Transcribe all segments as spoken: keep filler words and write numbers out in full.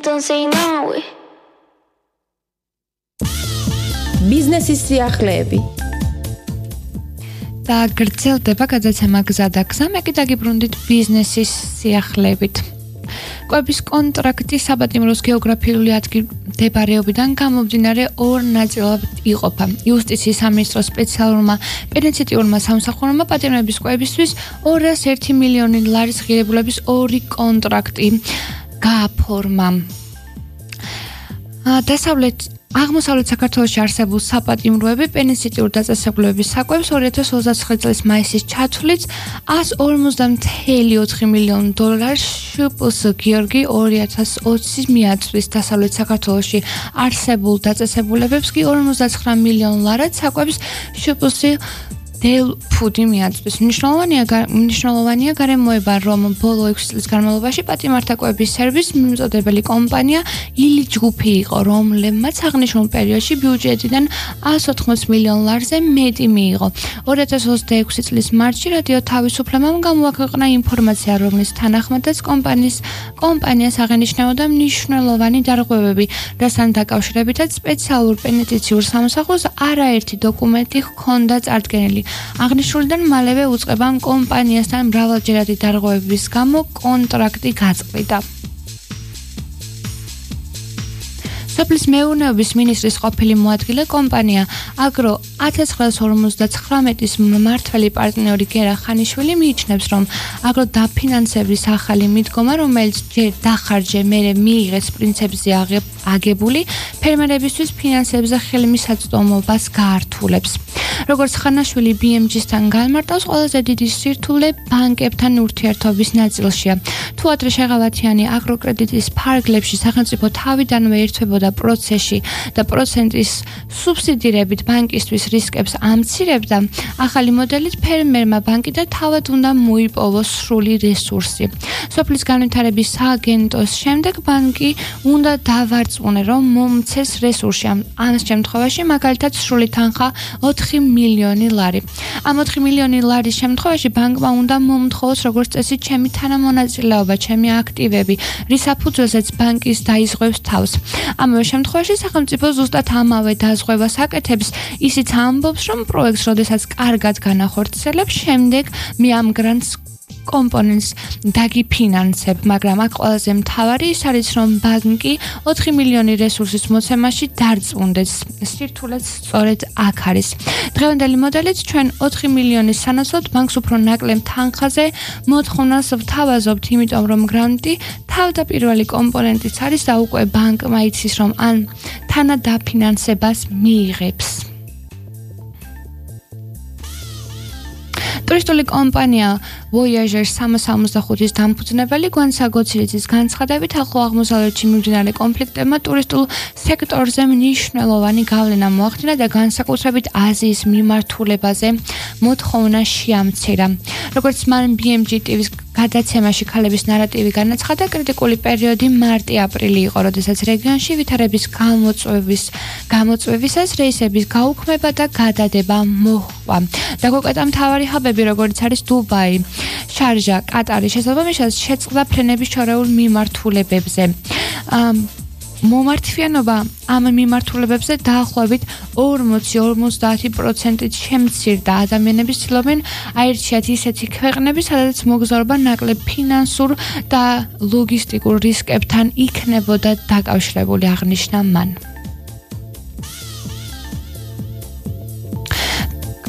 don't say no. ბიზნესის სიახლეები და გრძელდება გადაცემა გზა და გზა, მე კი დაგიბრუნდით ბიზნესის სიახლეებით. კვების კონტრაქტი საპატიმროს გეოგრაფიული ადგილმდებარეობიდან გამომდინარე ორ ნაწილად იყოფა. იუსტიციის სამინისტროს სპეციალურმა პენიტენციურმა სამსახურმა პატიმრების კვებისთვის ორას ერთი მილიონი ლარის ღირებულების ორი კონტრაქტი გააფორმა. დასავლეთ აღმოსავლეთ საქართველოში არსებულ საპატიმროები პენიტენციურ დაწესებულებების საკვებს ორი ათას ოცდაცხრე წლის მაისის ჩათვლით εκατს ორმოცდაოთხი მილიონი დოლარს შპს გიორგი ორი ათას ოცი მიაწვის. დასავლეთ საქართველოში არსებულ დაწესებულებებს კი ორმოცდაცხრა მილიონი ლარად საკვებს შპს დელ ფუდი მიაწვის. მნიშვნელოვანია მნიშვნელოვანია გარემოება, რომ ბოლო ექვსი წლის განმავლობაში პატიმართა კვების სერვისის მიმწოდებელი კომპანია ილი ჯგუფი იყო, რომლებმაც აღნიშნულ პერიოდში ბიუჯეტიდან εκατს ოთხმოცი მილიონ ლარზე მეტი მიიღო. ორი ათას ოცდაექვსი წლის მარტში რადიო თავისუფლებამ გამოაქვეყნა ინფორმაცია, რომლის თანახმადაც კომპანიის კომპანიას აღენიშნებოდა მნიშვნელოვანი დარღვევები, რასთან დაკავშირებითაც სპეციალურ პენიტენციურ სამსახურს არაერთი დოკუმენტი ჰქონდა წარდგენილი. აღნიშნულიდან მალევე უწყებამ კომპანიასთან მრავალჯერადი დარღვევების გამო კონტრაქტი გაწყვიტა. სოფლის მეურნეობის მინისტრის ყოფილი მოადგილე კომპანია აგრო ათას ცხრაას ორმოცდაცხრამეტის მმართველი პარტნიორი გერა ხანიშვილი მიიჩნევს, რომ აგრო დაფინანსების ახალი მიდგომა, რომელიც ჯერ დახარჯე მერე მიიღეს პრინციპზე აგებული ფერმერებისთვის ფინანსებზე ხელმისაწვდომობას გაართულებს. როგორც ხანაშვილი ბი ემ ჯი-სთან განმარტავს, ყველაზე დიდი სირთულე ბანკებთან ურთიერთობის ნაწილშია. თუ ადრე შეღავათიანი აგროკრედიტის ფარგლებში სახელმწიფო თავიდანვე ერთვებოდა პროცესში და პროცენტის სუბსიდირებით ბანკისთვის რისკებს ამცირებდა, ახალი მოდელით ფერმერმა ბანკი და თავად უნდა მოიპოვოს სრული რესურსი. სოფლის განვითარების სააგენტოს შემდეგ ბანკი უნდა დავარწმუნე, რომ მომცეს რესურსი. ამ შემთხვევაში მაგალითად სრული თანხა ოთხი მილიონი ლარი. ამ ოთხი მილიონი ლარის შემთხვევაში ბანკმა უნდა მომთხოვოს როგორც წესი ჩემი თანამონაწილეობა, ჩემი აქტივები, რის საფუძველზეც ბანკის დაიზღვევს თავს. ამავე შემთხვევაში სახელმწიფო ზუსტად ამავე დაზღვევას აკეთებს. ისიც ამბობს, რომ პროექტს, როდესაც კარგად განახორციელებს, შემდეგ მე ამ გრანტს კომპონენტს დაგიფინანსებ, მაგრამ აქ ყველაზე მთავარი ის არის, რომ ბანკი ოთხი მილიონი რესურსის მოცემაში დარწმუნდეს. სირთულეც სწორედ აქ არის. დღევანდელი მოდელით ჩვენ ოთხი მილიონის სანაცვლოდ ბანკს უფრო ნაკლებ თანხაზე მოთხოვნას ვთავაზობთ, იმიტომ რომ გრანტი თავდაპირველი კომპონენტიც არის და უკვე ბანკმა იცის, რომ ან თანადაფინანსებას მიიღებს. ტურისტული კომპანია Voyager სამას ორმოცდახუთის დამფუძნებელი გვიან საგოცირიძის განცხადებით, ახლო აღმოსავლეთში მიმდინარე კონფლიქტებმა ტურისტულ სექტორზე მნიშვნელოვანი გავლენა მოახდინა და განსაკუთრებით აზიის მიმართულებაზე მოთხოვნა შეამცირა. როგორც მან ბი ემ ჯი ტივის გადაცემაში ქალების ნარატივი განაცხადა, კრიტიკული პერიოდი მარტი-აპრილი იყო, როდესაც რეგიონში ვითარების გამოწვევის გამოწვევისას რეისების გაუქმება და გადადება მოჰყვა. დაგუკეტა მთავარი ჰაბები, როგორც არის დუბაი, შარჟა, კატარი, შესაბამისად შეწყდა ფრენების შორეულ მიმართულებებზე. მომართვიანობა ამ მიმართულებებზე დაახლოებით ორმოცი ორმოცდაათი პროცენტით შემცირდა. ადამიანები ცდილობენ აირჩიათ ისეთი ქვეყნები, სადაც მოგზაურობა ნაკლებ ფინანსურ და ლოგისტიკურ რისკებთან იქნებოდა დაკავშირებული, აღნიშნა მან.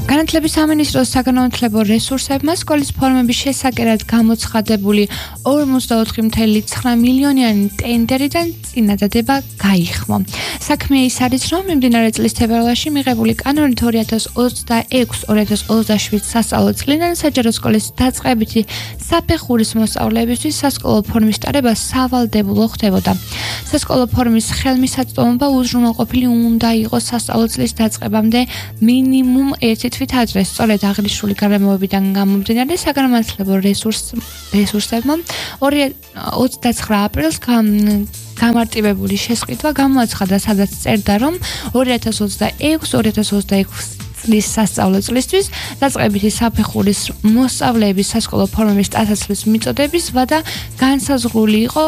განათლების სამინისტროს საგანმანათლებლო რესურსებმა სკოლის ფორმების შესაკერად გამოცხადებული ორმოცდაოთხი წუთი ცხრა მილიონიანი ტენდერიდან წინადადება გაიხმო. საქმე ის არის, რომ მიმდინარე წლის თებერვალში მიღებული კანონით ორი ათას ოცდაექვსი ორი ათას ოცდაშვიდ სასწავლო წლიდან საჯარო სკოლის დაწყებითი საფეხურის მოსწავლეებისთვის სასკოლო ფორმის ტარება სავალდებულო ხდებოდა. სასკოლო ფორმის ხელმისაწვდომობა უზრუნველყოფილი უნდა იყოს სასწავლო წლის დაწყებამდე მინიმუმ ერთი თვით ადრე. სწორედ აღნიშნული გარემოებიდან გამომდინარე საგანმანათლებლო რესურსებმა ოცდაცხრა აპრილს გამარტივებული შესყიდვა გამოაცხადა, სადაც წერდა, რომ ორი ათას ოცდაექვსი ორი ათას ოცდაექვსი წლის სასწავლო წლისთვის დაწყებითი საფეხურის მოსწავლეების სასკოლო ფორმების ტანსაცმლის მიწოდების ვადა განსაზღვრული იყო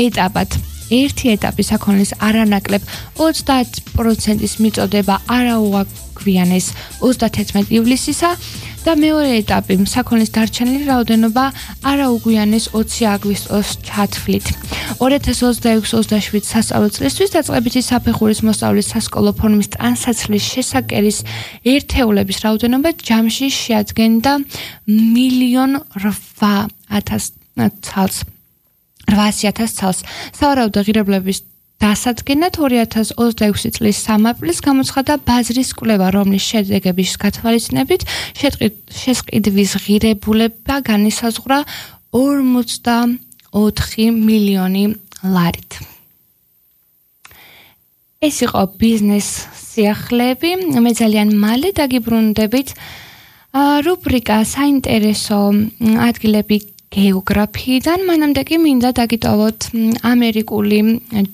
ეტაპად. ერთი ეტაპი საქონლის არანაკლებ ოცდაათ პროცენტის მიწოდება არაუაგვიანეს ოცდათერთმეტი ივლისისა და მეორე ეტაპი საქონლის დარჩენილი რაოდენობა არაუგვიანეს ოცი აგვისტოს ჩათვლით. ორი ათას ოცდაექვსი ოცდაშვიდ სასწავლო წლისთვის დაწყებითი საფეხურის მოსწავლის სასკოლო ფორმის ტანსაცმლის შესაკერის ერთეულების რაოდენობა ჯამში შეადგენდა მილიონ რვაათას ცალს. რვაასი ათას ცალს. სავარაუდო ღირებულების დასადგენად ორი ათას ოცდაექვსი წლის სამი აპრილის გამოცხადა ბაზრის კვლევა, რომლის შედეგების გათვალისწინებით შესყიდვის ღირებულება განისაზღვრა ორმოცდაოთხი მილიონი ლარით. ეს იყო ბიზნეს სიახლეები. მე ძალიან მალე დაგიბრუნდებით რუბრიკა საინტერესო ადგილები გეოგრაფიიდან. მანამდე კი მინდა დაგიტოვოთ ამერიკული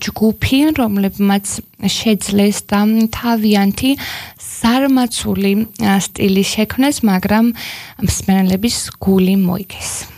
ჯგუფი, რომლებმაც შეძლეს და თავიანთი ზარმაცული სტილი შექმნეს, მაგრამ მსმენელების გული მოიგეს.